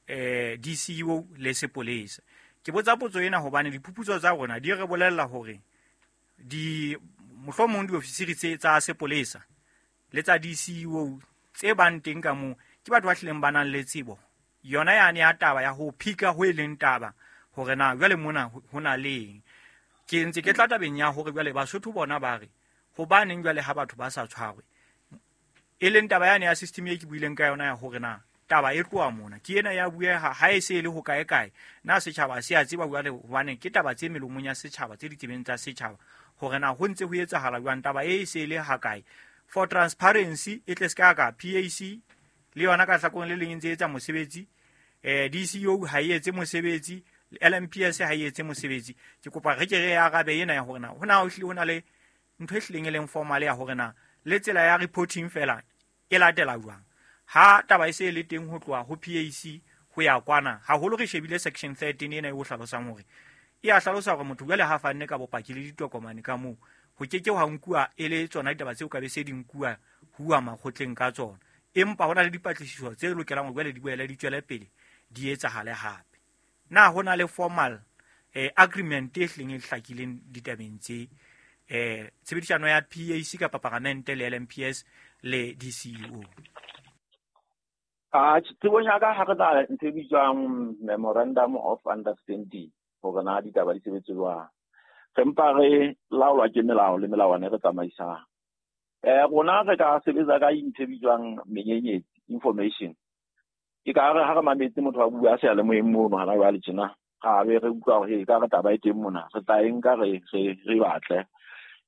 DCEO le sepolesa. Ke botsa potso ena hobane diphuputso tsa rona di re bolella hore di mohlomong diofisiri tse tsa sepolesa le tsa DCEO tse bang teng ka moo ke batho ba hlileng ba nang le tsebo yona yane ya taba ya ho phika ho e leng taba hore na jwale mona ho na leng. Ke ntse ke tla tabeng ya hore jwale Basotho bona ba re hobaneng jwale ha batho ba sa tshwarwe, e leng taba yane ya system e ke buileng ka yona ya hore na taba e tloha mona ke ena ya bueha ha e se e le ho kae kae, na setjhaba se a tseba jwale hobane ke taba tse melomong ya setjhaba tse ditsebeng tsa setjhaba hore na ho ntse ho etsahala jwang, taba e se e le ha kae. For transparency e tle se ka PAC le yona ka hlakoreng le leng ntse etsa mosebetsi, DCO ha e etse mosebetsi, LMPS ha e etse mosebetsi. Ke kopa re ke re arabe ena ya hore na hona ho hlile hona le ntho e hlileng e leng formal ya hore na le tsela ya reporting fela e latela jwang ha taba e se le teng ho tloha ho PAC ho ya kwana. Haholo re shebile section 13 ena e o hlalosang hore e a hlalosa hore motho jwale ha fanne ka bopaki le ditokomane ka moo ho ke ke ha nkuwa e le tsona ditaba tseo ka be se di nkuwa huwa makgotleng ka tsona, empa hona le dipatlisiso tse lokelang hore jwale di boele di tswele pele di etsahale hape. Na hona le formal agreement e hlileng e hlakileng ditabeng tse tshebedisano ya PAC kapa paramente le LMPS le DCEO? Tsebong ya ka ha re na ntho e bitswang memorandum of understanding hore na ditaba di sebetse jwang. Re mpa re laolwa ke melao le melawana e re tsamaisang. Rona re ka sebetsa ka ntho e bitswang menyenyetsi, information. Ke ka re ha re mametse motho a bua seyalemoyeng mono hana jwale tjena, ra be re utlwa hore e ka re taba e teng mona, re tla e nka re batle.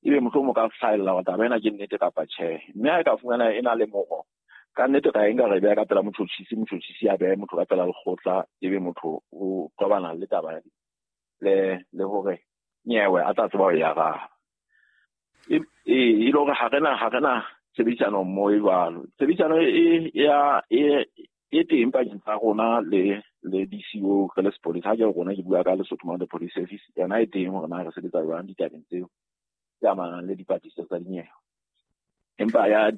Ebe mohlomong ka hlahella hore taba ena ke nnete kapa tjhe. Mme ha e ka fumana e na le moro, ka nnete ra e nka re beha ka pela motjhotjhisi, motjhotjhisi a behe motho ka pela lekgotla, ebe motho o qobana le taba le hore nyewe a tla tseba ho e araba. E le hore ha rena tshebedisano mmoho e jwalo. Tshebedisano e teng pakeng tsa rona le DCO re le sepolesa. Ha ke re rona ke bua ka Lesotho Mounted Police Service, yona e teng hore na re sebetsa jwang ditabeng tseo tse amanang le dipatlisiso tsa dinyewe. Empa ya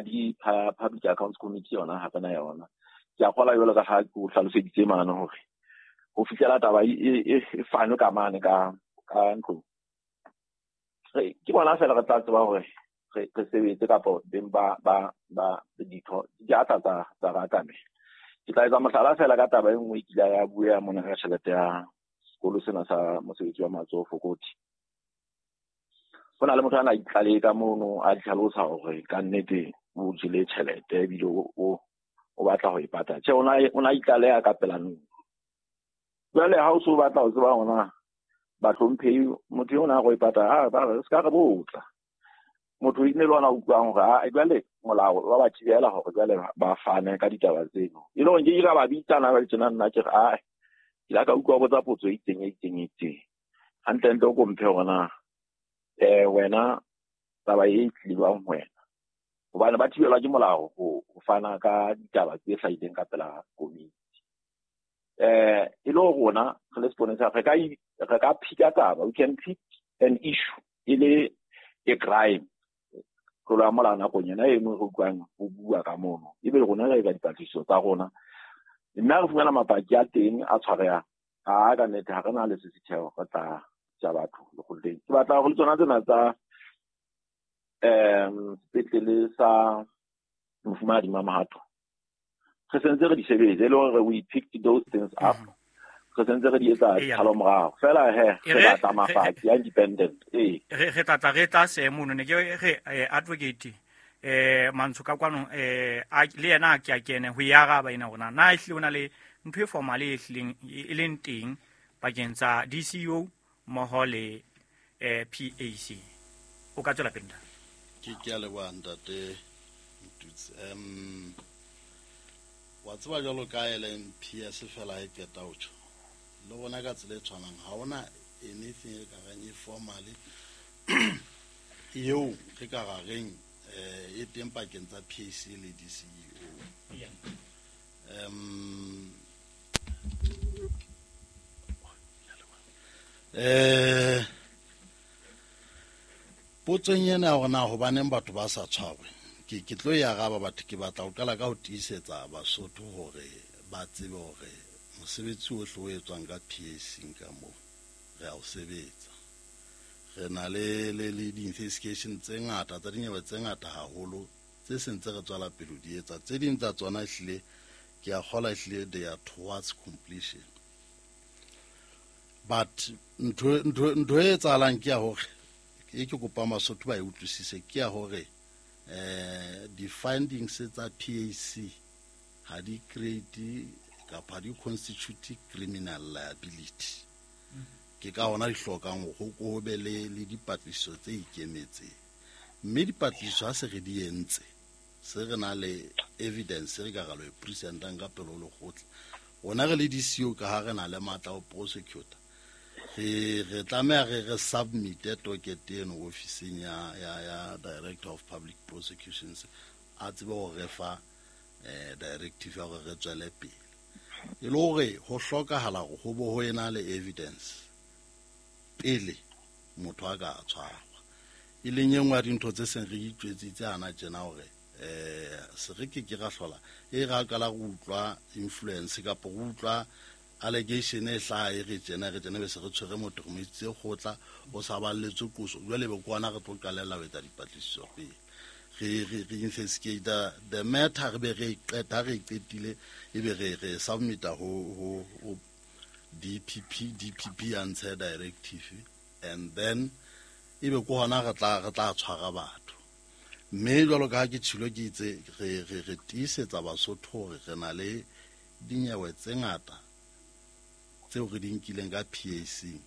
di Public Accounts Committee yona ha re na yona. Ke a kgolwa jwalo ka ha ke o hlaloseditse mane hore ho fihlela taba e fanwe ka mane ka ntlong. Ke bona fela re tla tseba hore re sebetse kapa beng ba ditho di a tla tsa re atamela. Ke tla etsa mohlala fela ka taba e nngwe e kile ya bua mona ka tjhelete ya sekolo sena sa mosebetsi wa matsoho Fokoti. Ho na le motho a na itlalehe ka mono a tlhalosa hore ka nnete o jele tjhelete ebile o batla ho e patala. Tjhe, o na itlaleha ka pela ntlo. Jwale ha o so batla ho tseba hore bahlomphehi motho eo na go e patala, ba re se ka re botsa. Motho e ne le ona utlwang hore jwale molao wa ba thibela hore jwale ba fane ka ditaba tseno. E le hore nke ke ka ba bitsana ba tjena nna ke re ke la ka utlwa botsa potso e itseng e itseng e itseng. Hantlentle o ko mphe hore na wena taba e tlilwang ho wena. Hobane ba thibelwa ke molao ho fana ka ditaba tse hlahileng ka pela komiti. E le rona re le seponesa re ka phika taba, we can pick an issue e le a crime. Tlolo ya molao nakong yona eno re utlwang ho bua ka mono. Ebe rona re etsa dipatlisiso tsa rona. Mme ha re fumana mapaki a teng a tshwarehang, ka nnete ha re na le sesitheo re tla tja batho lekgotleng. Ke batla hore le tsona tsena tsa sepetlele sa Mofumahadi Mamohato re sentse re di sebetse, e le hore we picked those things up. Re sentse re di etsa tshalo morao fela he re batla mapaki a independent. Re tla re tla se mono ne ke re advocate Mantsho ka kwano le yena a ke a kene ho e araba ena hore na ehlile o na le ntho e formal e hlileng e leng teng pakeng tsa DCO mmoho le PAC. O ka tswela pele ntate. Ke a leboha ntate Motutsi. Wa tseba jwalo ka LMPS fela e qeta ho tjho. Le rona ka tsela e tshwanang ha hona anything e ka reng e formally eo re ka ra reng e teng pakeng tsa PAC le DCEO. Potsong ena hore na hobaneng batho ba sa tshwarwe, ke tlo e araba batho. Ke batla ho qala ka ho tiisetsa Basotho hore ba tsebe hore mosebetsi ohle o etswang ka PAC ka moo re a o sebetsa. Re na le di-investigation tse ngata tsa dinyewe tse ngata haholo tse sentse re tswela pele di etsa. Tse ding tsa tsona ehlile ke a kgolwa ehlile they are towards completion. But ntho e etsahalang ke ya hore e ke kopa Basotho ba e utlwisise ke ya hore di-findings tsa PAC ha di create kapa di constitute criminal liability. Ke ka hona di hlokang hore ho be le dipatlisiso tse ikemetseng. Mme dipatlisiso ha se re di entse, se re na le evidence re ka ra lo e presentang ka pele ho lekgotla. Rona re le DCO ka ha re na le matla ho prosecutor, re tlameha re submit docket eno ofising ya Director of Public Prosecutions a tsebe ho re fa directive ya hore re tswele pele. E le hore ho hlokahala hore ho bo ho ena le evidence pele motho a ka tshwarwa. E leng e nngwe ya dintho tse seng re itjwetsitse hana tjena hore se re ke ra hlola e ra qala go utlwa influence kapa go utlwa allegation e hlaha e re tjena be se re tshwere motho re mo isitse kgotla o sa balletswe qoso. Jwale be ke ona re tlo qalella ho etsa dipatlisiso pele. Re investigate the matter, re be re qeta re qetile ebe re submita ho DPP a ntshe directive and then ebe ke hona re tla tshwara batho. Mme jwalo ka ha ke tshilo ke itse re tiisetsa Basotho hore re na le dinyewe tse ngata tseo re di nkileng ka PAC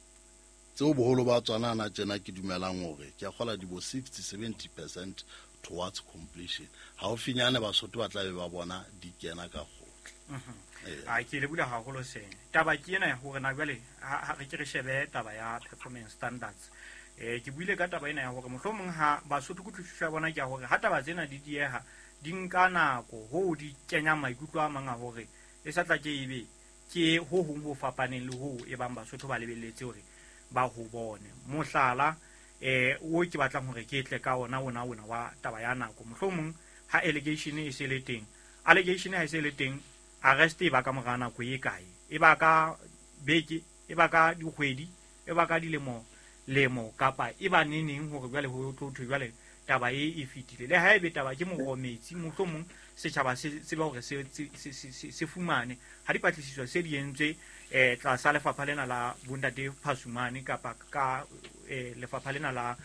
tseo boholo ba tsona na tjena ke dumelang hore ke a kgola di bo 60-70% towards completion. Haufinyane Basotho ba tla be ba bona di kena ka kgotla. A ke le bula haholo seng. Taba ke ena hore na jwale ha re ke re shebe taba ya performance standards. Ke buile ka taba ena ya hore mohlomong ha Basotho kutlwisiso ya bona ke ya hore ha taba tsena di dieha di nka nako ho di kenya maikutlo a mang a hore e sa tla ke ebe ke ho hong ho fapaneng le ho e bang Basotho ba lebelletse hore ba ho bone. Mohlala O ke batlang hore ke tle ka ona ona ona wa taba ya nako. Mohlomong ha allegation e se le teng, allegation ha e se le teng, arrest e ba ka mora nako e kae? E ba ka beke, e ba ka dikgwedi, e ba ka dilemo lemo, kapa e ba neneng hore jwale ho tlo thwe jwale taba e fetile. Le haebe taba ke morometsi, mohlomong setjhaba se tseba hore se fumane ha dipatlisiso se di entswe tlasa lefapha lena la bontate Phasumane kapa ka lefapha lena la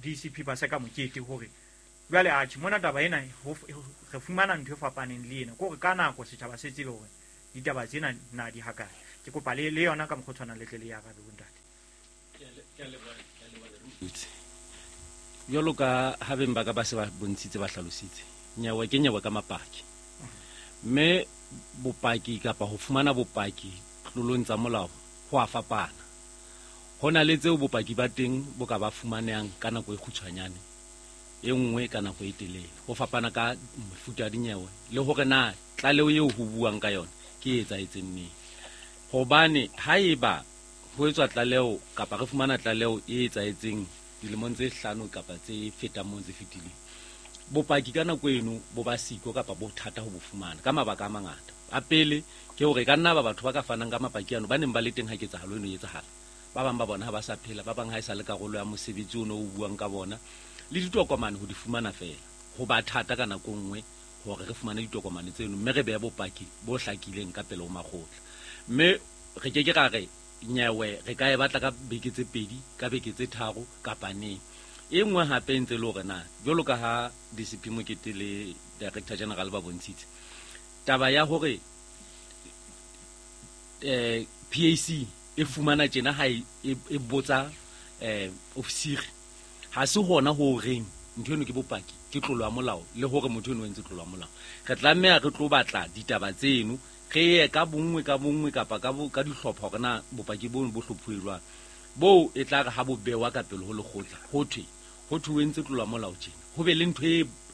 DCP Paseka Mokete, hore jwale atjhe mona taba ena re fumana ntho e fapaneng le ena, ke hore ka nako setjhaba se tsebe hore ditaba tsena na di hakae. Ke kopa le yona ka mokgwa o tshwanang le tle le ya arabe bontate. Jwalo ka ha beng ba ka ba se ba bontshitse ba hlalositse, nyewe ke nyewe ka mapaki. Mme bopaki kapa ho fumana bopaki tlolong tsa molao ho a fapana. Ho na le tseo bopaki ba teng bo ka ba fumanehang ka nako e kgutshwanyane, e nngwe ka nako e telele. Ho fapana ka mefuta ya dinyewe le hore na tlaleho eo ho buang ka yona ke e etsahetseng neng. Hobane haeba ho etswa tlaleho kapa re fumana tlaleho e etsahetseng dilemong tse 5 kapa tse fetang moo tse fetileng, bopaki ka nako eno bo ba siko kapa bo thata ho bo fumana ka mabaka a mangata. A pele ke hore ka nna ba batho ba ka fanang ka mapaki ano ba neng ba le teng ha ketsahalo eno e etsahala, ba bang ba bona ha ba sa phela, ba bang ha e sa le karolo ya mosebetsi ono o buang ka bona, le ditokomane ho di fumana feela ho ba thata ka nako nngwe hore re fumane ditokomane tseno, mme re behe bopaki bo hlakileng ka pele ho makgotla. Mme re ke ke ra re nyewe re ka e batla ka beke tse 2, ka beke tse 3 kapa neng. E nngwe hape e ntse le hore na jwalo ka ha DCP Mokete le Director General ba bontshitse taba ya hore PAC e fumana tjena ha e botsa ofisiri, ha se hona ho reng ntho eno ke bopaki, ke tlolo ya molao, le hore motho eno o entse tlolo ya molao. Re tlameha re tlo batla ditaba tseno, re ye ka bonngwe ka bonngwe kapa ka dihlopha hore na bopaki bono bo hlophuwe jwang. Boo e tla re ha bo bewa ka pele ho lekgotla, ho thwe o entse tlolo ya molao tjena, ho be le ntho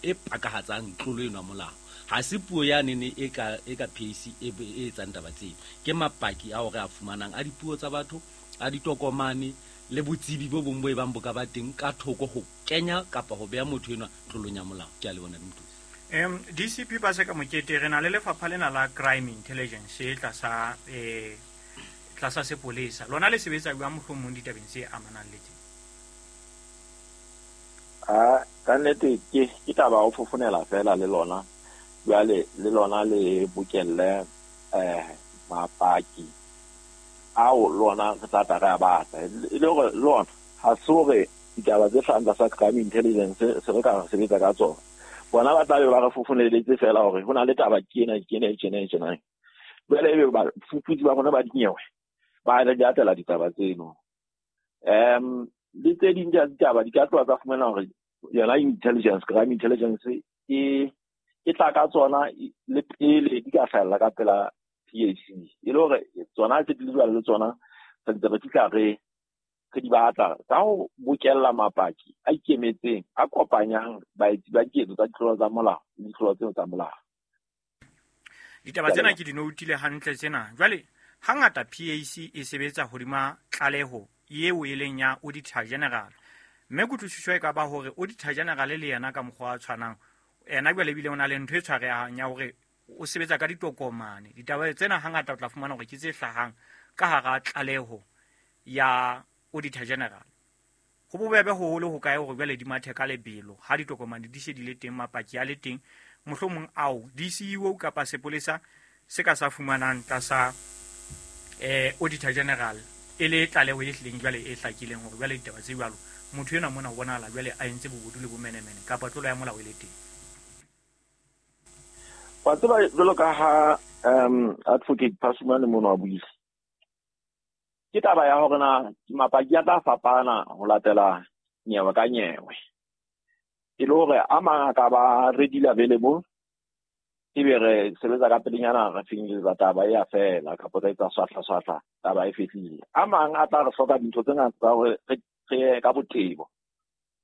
e pakahatsang tlolo eno ya molao. Ha se puo ya nene e ka PAC e etsang taba tseno, ke mapaki ao re a fumanang a dipuo tsa batho, a ditokomane le botsebi bo bong bo e bang bo ka ba teng ka thoko ho kenya kapa ho beha motho enwa tlolong ya molao. Ke a le bona Mothusi. DCP Paseka Mokete, re na le lefapha lena la crime intelligence tlasa tlasa sepolesa. Lona le sebetsa jwang mohlomong ditabeng tse amanang le tse? Ka nnete ke taba ho fofonela fela le lona. Jwale le lona le bokelle mapaki ao lona re tla tla re a batla. E le hore lona ha se hore ditaba tse hlahang tlasa crime intelligence se re ka sebetsa ka tsona. Bona ba tla be ba re fofoneletse fela hore ho na le taba ke ena ke ena e tjena e tjena. Jwale ebe ba fuputsi ba rona ba dinyewe ba re latela ditaba tseno. Le tse ding tsa ditaba di ka tloha tsa fumana hore yona intelligence, crime intelligence e tla ka tsona le pele di ka hlahella ka pela PAC. E le hore tsona tse di jwale le tsona re ntse re fihla re di batla ka ho bokella mapaki a ikemetseng a kopanyang baetsi ba diketso tsa ditlolo tsa molao le ditlolo tseo tsa molao. Ditaba tsena ke di noutile hantle tsena. Jwale hangata PAC e sebetsa hodima tlaleho eo e leng ya Auditor General, mme kutlwisiso e ka ba hore Auditor General le yena ka mokgwa o tshwanang, ena jwale ebile o na le ntho e tshwarehang ya hore o sebetsa ka ditokomane. Ditaba tsena hangata o tla fumana hore ke tse hlahang ka hara tlaleho ya Auditor General. Ho bobebe hoholo ho kae hore jwale di mathe ka lebelo ha ditokomane di se di le teng, mapaki a le teng, mohlomong ao DCEO kapa sepolesa se ka sa fumanang tlasa Auditor General e le tlaleho e hlileng jwale e hlakileng hore jwale ditaba tse jwalo motho enwa mona o bonahala jwale a entse bobodu le bomenemene kapa tlolo ya molao e le teng. Wa tseba jwalo ka ha Advocate Phasumane mono a buile, ke taba ya hore na mapaki a tla fapana ho latela nyewe ka nyewe. E le hore a mang a ka ba readily available, ebe re sebetsa ka pelenyana re finyelletsa taba e ya fela, kapa re etsa swahla swahla taba e fedile. A mang a tla re hloka dintho tse ngata tsa hore re ye ka botebo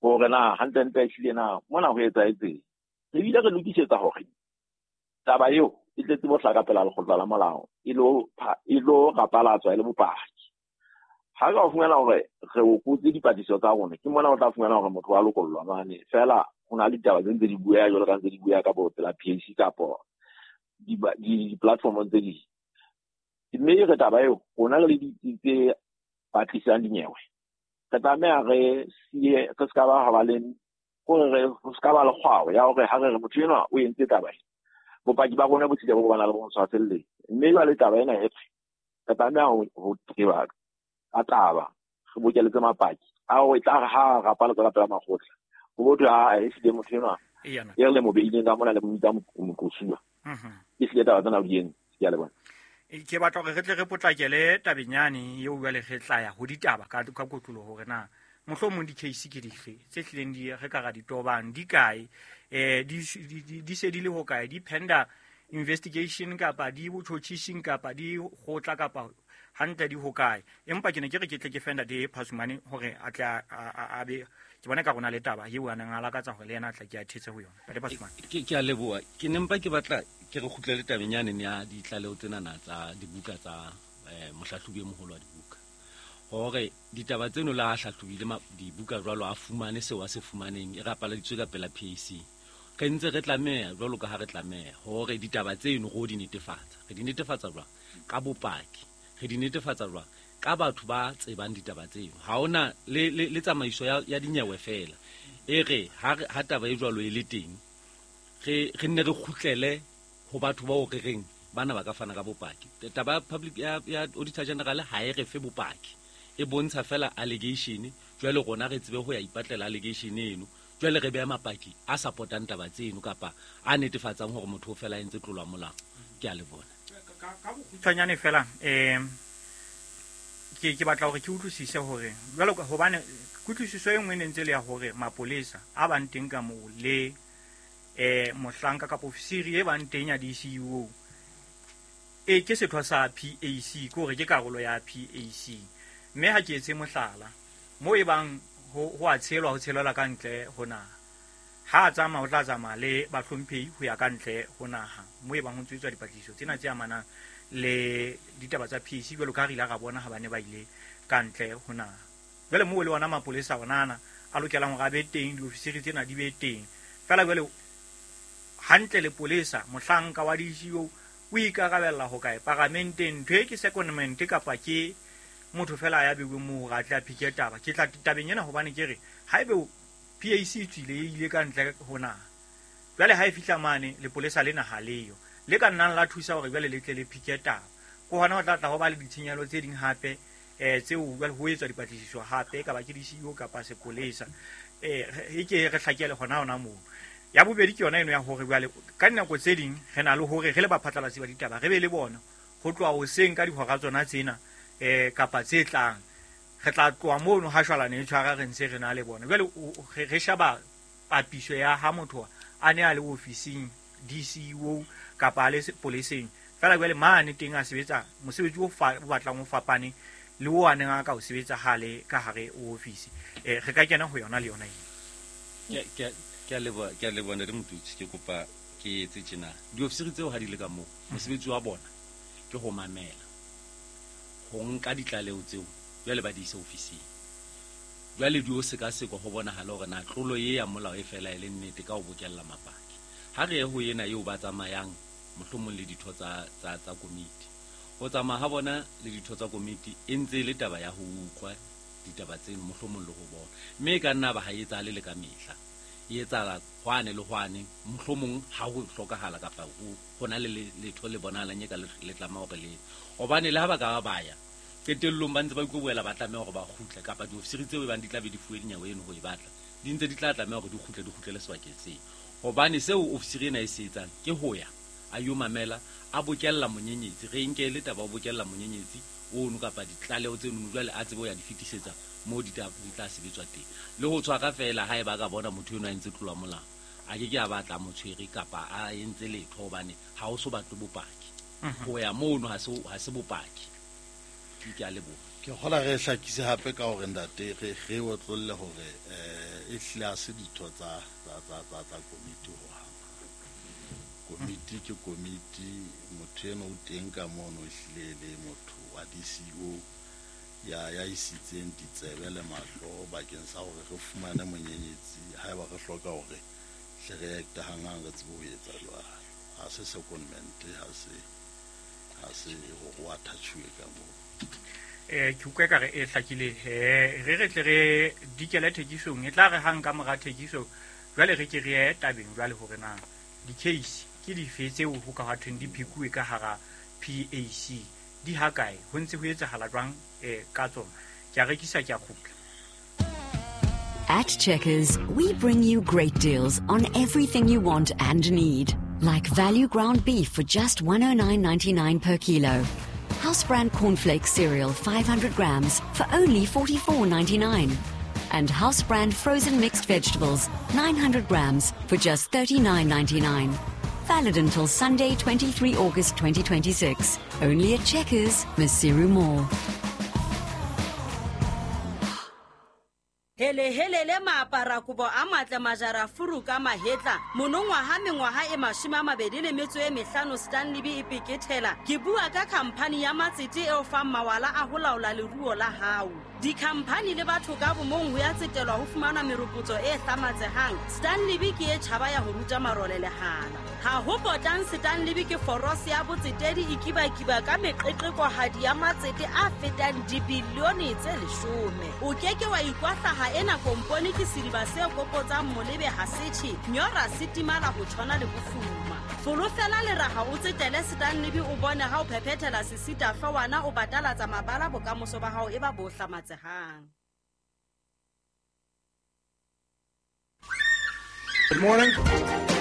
hore na hantlentle ehlile na mona ho etsahetseng. Re bile re lokisetsa hore taba eo e tletse bohla ka pela lekgotla la molao e lo rapalatswa e le bopaki. Ha ka fumana hore re o kotse dipatlisiso tsa rona, ke mona o tla fumana hore motho wa lokollwa mane. Feela ho na le ditaba tse ntse di bueha jwalo ka ntse di bueha ka bo pela PAC kapo di-platform tse ding. Mme re taba eo rona re le ditsi tse batlisang dinyewe, re tlameha re siye, re ska ba ha ba le hore re ska ba le kgwao ya hore ha re re motho enwa o entse taba e, bopaki ba rona bo tlile bo bana le bo tshwaselletse. Mme jwale taba ena e re tlameha ho tseba ka taba, re bokeletse mapaki a o tla re ha rapala ka pela makgotla ho botho ha e hlile motho enwa e re le mo beileng ka mona le mo bitsa moqosuwa. E hlile taba tsena di entse. Ke a leboha. Ke batla hore re tle re potlakele tabeng yane eo jwale re tla ya ho ditaba ka kotloloho hore na mohlomong di-case ke dife tse hlileng di re ka ra di tobang, di kae, di se di le hokae, di penda investigation kapa di botjhotjhising kapa di kgotla kapa hantle di hokae. Empa ke ne ke re ke tle ke fenda de Phasumane hore a tle a be ke bona ka rona le taba eo a neng a lakatsa hore le yena a tla ke a thetse ho yona. Ntate Phasumane. Ke a leboha. Ke ne mpa ke batla ke re kgutlele tabeng yane ya ditlaleho tsenana tsa dibuka tsa mohlahlobi e moholo wa dibuka, hore ditaba tseno la hlahlobile dibuka jwalo a fumane seo a se fumaneng e rapaladitswe ka pela PAC. Re ntse re tlameha jwalo ka ha re tlameha hore ditaba tseno ro di netefatsa. Re di netefatsa jwang? Ka bopaki. Re di netefatsa jwang? Ka batho ba tsebang ditaba tseno. Ha hona le tsamaiso ya dinyewe fela. E re ha taba e jwalo e le teng, re nne re kgutlele ho batho bao re reng bana ba ka fana ka bopaki. Taba ya public ya Auditor General ha e re fe bopaki, e bontsha fela allegation. Jwale rona re tsebe ho ya ipatlela allegation eno, jwale re beha mapaki a supportang taba tseno kapa a netefatsang hore motho o fela a entse tlolo ya molao. Ke a le bona. Ka bokgutshwanyane fela, ke batla hore ke utlwisise hore jwalo ka hobane kutlwisiso e nngwe e ne ntse le ya hore mapolesa a bang teng ka moo le mohlanka kapa ofisiri e bang teng ya DCEO e ke setho sa PAC, ke hore ke karolo ya PAC. Mme ha ke etse mohlala mo e bang ho a tshelwa, ho tshelelwa ka ntle ho naha, ha a tsamaya o tla tsamaya le bahlomphehi ho ya ka ntle ho naha mo e bang ho tswetswa dipatlisiso tsena tse amanang le ditaba tsa PAC jwalo ka re ile ra bona ha ba ne ba ile ka ntle ho naha. Jwale moo le ona mapolesa ona ana a lokelang hore a be teng, diofisiri tsena di be teng. Feela jwale hantle le polesa mohlanka wa DCEO o ikarabella ho kae paramenteng? Ntho e ke secondment kapa ke motho fela ya beuweng moo hore a tle a phike taba? Ke tla tabeng ena hobane ke re haebe PAC e tswile e ile ka ntle ho naha, jwale ha e fihla mane lepolesa lena ha leyo le ka nnang la thusa hore jwale le tle le phike taba, ke hona ho tla tla ho ba le ditshenyehelo tse ding hape tseo jwale ho etswa dipatlisiso hape, ka ba ke DCEO kapa sepolesa. E ke re hlakele hona moo. Ya bobedi ke yona eno ya hore jwale ka dinako tse ding re na le hore re le baphatlalatsi ba ditaba re be le bona ho tloha hoseng ka dihora tsona tsena kapa tse tlang, re tla tloha mono ha shwalane e tshwara re ntse re na le bona. Jwale re sheba papiso ya ha motho a ne a le ofising DCEO kapa a le sepoleseng, feela jwale mane teng a sebetsa mosebetsi o batlang o fapane le o a neng a ka o sebetsa ha le ka hare ho ofisi. Re ka kena ho yona le yona eo. Ke a leboha Ntate Motutsi. Ke kopa ke etse tjena. Diofisiri tseo ha di le ka moo, mosebetsi wa bona ke ho mamela, ho nka ditlaleho tseo jwale ba di ise ofising. Jwale di o sekasekwa ho bonahala hore na tlolo e ya molao e fela e le nnete ka ho bokella mapaki. Ha re ye ho ena eo ba tsamayang mohlomong le ditho tsa komiti. Ho tsamaya ha bona le ditho tsa komiti e ntse e le taba ya ho utlwa ditaba tseno mohlomong le ho bona. Mme e ka nna ba ha e etsahale le ka mehla. E etsahala hwane le hwane, mohlomong ha ho hlokahala kapa ho na le letho le bonahalang e ka le tlameha hore le. Hobane le ha ba ka ba ya qetellong ba ntse ba ikoboela ba tlameha hore ba kgutle, kapa diofisiri tseo e bang di tla be di fuwe dinyewe eno ho e batla, di ntse di tla tlameha hore di kgutle, di kgutlele sebakeng seo. Hobane seo ofisiri ena e se etsang ke ho ya a yo mamela, a bokella monyenyetsi. Re nke le taba o bokella monyenyetsi ono kapa ditlaleho tseno jwale a tsebe ho ya di fetisetsa moo di tla sebetswa teng. Le ho tshwara fela ha eba ka bona motho eno a entse tlolo ya molao, a ke ke a batla motshwere kapa a entse letho, hobane ha o so batle bopaki. Ho ya mono ha se bopaki. Ke a leboha. Ke kgola re hlakise hape ka hore ntate re otlolle hore e hlile ha se ditho tsa komiti ho hang. Komiti ke komiti, motho eno o teng ka mono e hlile le motho wa DCEO. ya isitseng ditsebe le mahlo bakeng sa hore re fumane monyenyetsi haeba re hloka hore hle re acte hanghang re tsebe ho etsa jwalo. Ha se secondment, ha se hore o attach-uwe ka moo. Ke utlwa ekare e hlakile he re tle re dikele thekisong e tla re hang ka mora thekiso jwale re ke re ye tabeng jwale hore na di-case ke dife tseo ho ka hwa thweng di phekuwe ka hara PAC di ha kae ho ntse ho etsahala jwang ka tsona. Ke a rekisa ke a kgutla. At Checkers, we bring you great deals on everything you want and need. Like value ground beef for just 109.99 per kilo. House brand cornflakes cereal 500 grams for only 44.99. And house brand frozen mixed vegetables 900 grams for just 39.99. Valid until Sunday, 23 August 2026. Only at Checkers, Maseru Mall. Hele hele le maapara kobo a matle majara furu ka mahetla monongwaha mengwaha e 25 Stanley B e pekethela. Ke bua ka khamphani ya matsete eo fang mawala a ho laola leruo la hao. Dikhamphani le batho ka bomong ho ya tsetelwa ho fumana meropotso e hlamatsehang. Stanley B ke e tjhaba ya ho ruta marole lehala. Ha ho potang Stanley B ke forose ya botsetedi e kibakiba ka meqeqekohadi ya matsete a fetang dibilione tse 10. O keke wa ikwahla ena kompone ke sediba se kopotsang molebe ha setjhe nyora se timala ho tshwana le bofuma. Folofela leraha o tsetele Stanley B o bone ha o phephethela sesita hloohwana o batalatsa mabala bokamoso ba hao e ba bo hlamatsehang. Good morning.